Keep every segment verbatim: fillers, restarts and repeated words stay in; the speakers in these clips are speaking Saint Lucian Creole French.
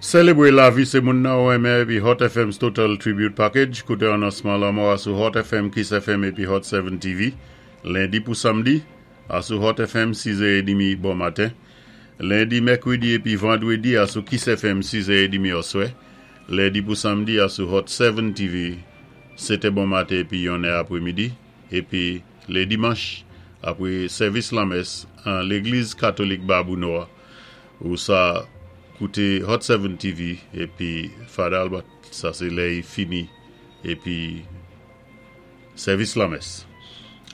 Sélébwé lavi sé moun nan ou enmen épi Hot F M's Total Tribute Package. Kouté anonsman lanmò a sou Hot F M, Kiss F M épi Hot sept T V. Lendi pou samdi, a sou Hot F M sis è trant bon maten. Lendi, mèkwédi épi vandwédi a sou Kiss F M sis è trant oswè. Lendi pou samdi a sou Hot sept T V sèt bon maten épi yon è apwémidi. Épi lé dimanch, apwé sèvis lamès an Légliz Katolik Babou Nò, ou sa kouté Hot sept T V épi Father Albert, sa sé lè i fini épi sèvis lamès.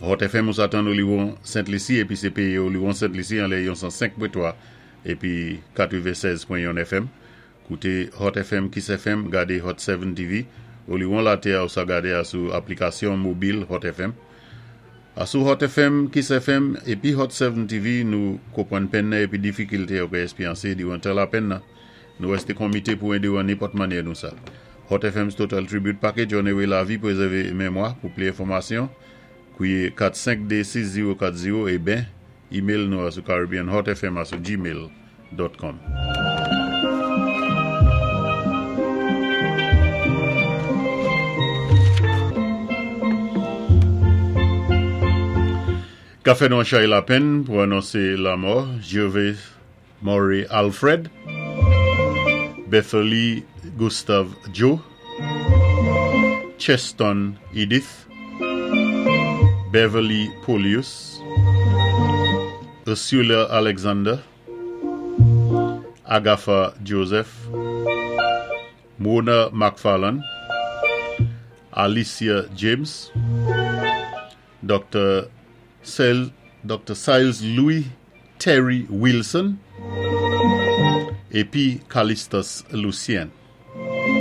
Hot F M ou sa tann Oliwon Sent Lisi épi sé péyi Oliwon Sent Lisi an lè yon san senk pwen twa épi katwennsèz pwen yon F M. Kouté Hot F M, Kiss F M, gadé Hot sept T V. Oliwon latè ou sa gadé a sou aplikasyon mobil Hot F M. A sou Hot F M, Kiss F M épi Hot sept T V, nou konpwann penn nan épi difikilté ou ka èspéryansé diwan tan lapenn nan. Nou wèsté konmité pou édé ou an nenpòt mannyè nou sa. Hot F M's Total Tribute Package, onoré lavi, pwézèvé mémwa. Pou pli enfòmasyon, kwié kat senk de sis zewo kat zewo é ben email nou a sou caribbeanhotfm a sou gmail pwen com. Ka fè nou chay lapenn pou anonsé lanmò Gervais Murray Alfred, Beverly Gustave Joe, Cheston Edith, Beverly Polius, Ursula Alexander, Agatha Joseph, Mona McFarlane, Alicia James, Doctor Sel, Doctor Siles Louis Terry Wilson, épi Callistus Lucien.